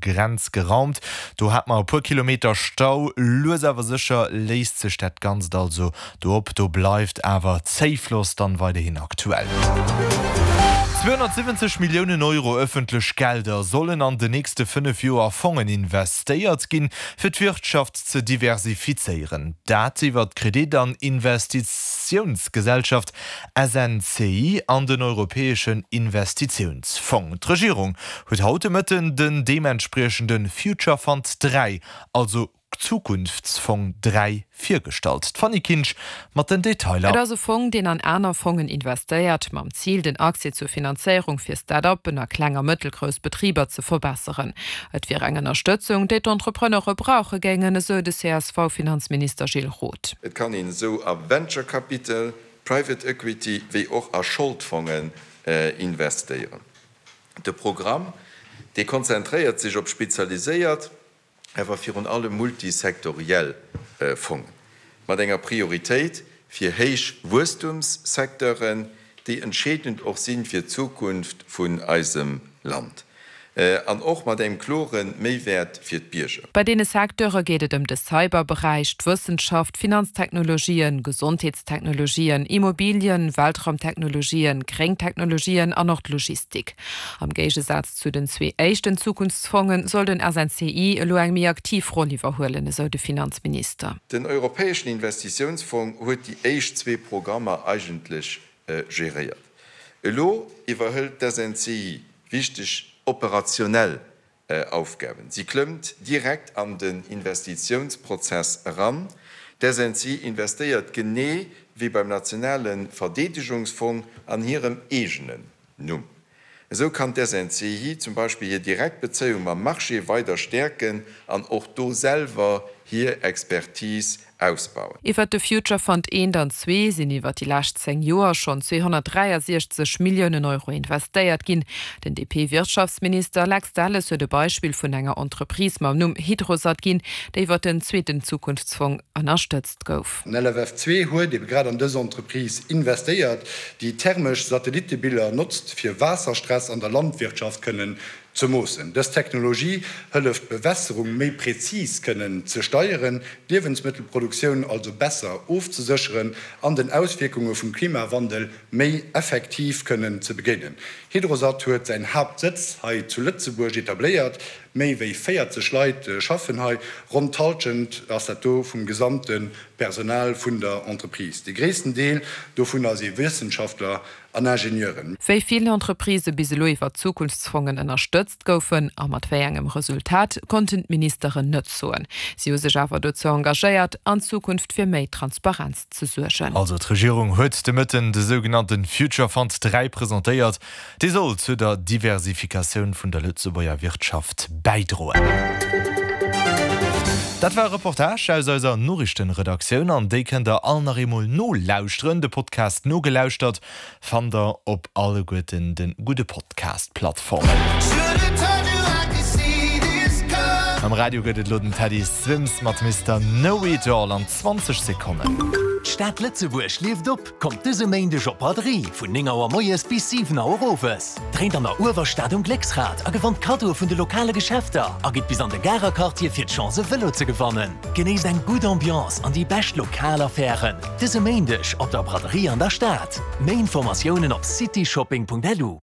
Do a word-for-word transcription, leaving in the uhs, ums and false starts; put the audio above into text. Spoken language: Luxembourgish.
Grenz geraumt. Do hat mer e puer Kilometer Stau. Lues awer sécher léist sech dat Ganzt also do op. Do bleift awer Zéifloss dann weiderhin aktuell. Zweehonnertsiwwenzeg Milliounen Euro ëffentlech Gelder sollen an den nächste fënnef Joer a Fongen investéiert ginn, fir d'Wirtschaft ze diversifizéieren. Dat iwwer d'Kredit an Investitiounsgesellschaft S N C I an den Europäeschen Investitiounsfong. D'Regierung huet haut de Mëtten den deementspriechende Future Fund dräi, also Zukunftsfong dräi, virgestallt. D'Fanny Kinsch mat den Detailer. Et ass e Fong, deen an aner Fongen investéiert, mam Zil, den Accès zur Finanzéierung fir Start-uppen a kleng a mëttelgrouss Betriber ze verbesseren. Et wier eng Ënnerstëtzung, déi d'Entrepreneure brauche géingen, esou de C S V-Finanzminister Gilles Roth. Et kann een esou a Venture Capital, Private Equity wéi och a Scholdfongen investéieren. De Programm, dee konzentréiert sech op spezialiséiert, awer virun allem multisektoriell Fongen, mat enger Prioritéit fir héich Wuesstumssecteuren, déi entscheedend och si fir d'Zukunft vun eisem Land, an och mat engem klore Méiwäert fir d'Bierger. Bei deene Secteure geet et ëm de Cyberberäich, d'Wëssenschaft, Finanztechnologien, Gesondheetstechnologien, Immobilien, Weltraumtechnologien, gréng Technologien an och d'Logistik. Am Géigesaz zu den zwee éischten Zukunftsfongen soll den S N C I elo eng méi aktiv Roll iwwerhuelen, esou de Finanzminister. Den Europäeschen Investitiounsfong huet déi éischt zwee Programmer eigentlech geréiert. Elo iwwerhëlt d'S N C I wichteg operationell Aufgaben. Si klëmmt direkt an den Investitiounsprozess eran. D'S N C I investéiert genee wéi beim nationale Verdeedegungsfong an hirem eegenen Numm. Esou kann d'S N C I zum Beispill hir direkt Bezéiung mam Marché weider stäerken an och do selwer hir Expertise ausbauen. Iwwer de Future Fund eent an zwee sinn iwwer déi lescht zéng Joer schonn zweehonnertdräiasiechzeg Milliounen Euro investéiert ginn. Den D P-Wirtschaftsminister Lex Delles huet e Beispill vun enger Entreprise mam Numm Hydrosat ginn, déi iwwer den zweeten Zukunftsfong ënnerstëtzt gouf. Den L F F zwee huet ebe grad an dës Entreprise investéiert, déi thermesch Satellitebiller notzt, fir Waasserstress an der Landwirtschaft kënnen ze moossen. Dës Technologie hëlleft d'Bewässerung méi präzis kënnen ze steieren, d'Liewensmëttelproduktioun also besser ofzesécheren an den Auswierkunge vum Klimawandel méi effektiv kënnen ze begéinen. Hydrosat huet säin Haaptsëtz hei zu Lëtzebuerg etabléiert. Méi wéi véierzeg Leit schaffen hei, ronn d'Hallschent ass dat do vum gesamte Personal vun der Entreprise. De gréissten Deel dovunner si Wëssenschaftler an Ingenieuren. Wéi vill Entreprisë bis elo iwwer Zukunftsfongen ënnerstëtzt goufen a mat wéi engem Resultat, konnten d'Ministeren net soen. Si hu sech awer dozou engagéiert, an Zukunft fir méi Transparenz ze suergen. Also d'Regierung huet de Mëtten de sougenannte Future Fund dräi presentéiert. Dee soll zu der Diversifikatioun vun der Lëtzebuerger Wirtschaft bäidroen. Dat war e Reportage aus eiser Noriichtenredaktioun an déi kënnt der all nach eemol nolauschteren. De Podcast Nogelauschtert fannt der op alleguerten de gudde Podcast-Plattformen. Am Radio gëtt et elo den Teddy Swims mat Mister Know It All an zwanzeg Sekonnen. D'Stad Lëtzebuerg lieft op! Kommt dëse Méindeg op Braderie vun néng Auer moies bis siwen Auer owes. Dréint an der Uewerstad um Glécksrad a gewannt Kaddoe vun de lokale Geschäfter a gitt bis an de Garer Quartier fir d'Chance e Vëlo ze gewannen. Genéisst eng gutt Ambiance an déi bescht lokal Affären dëse Méindeg op der Braderie an der Stad. Méi Informatiounen op cityshopping punkt lu.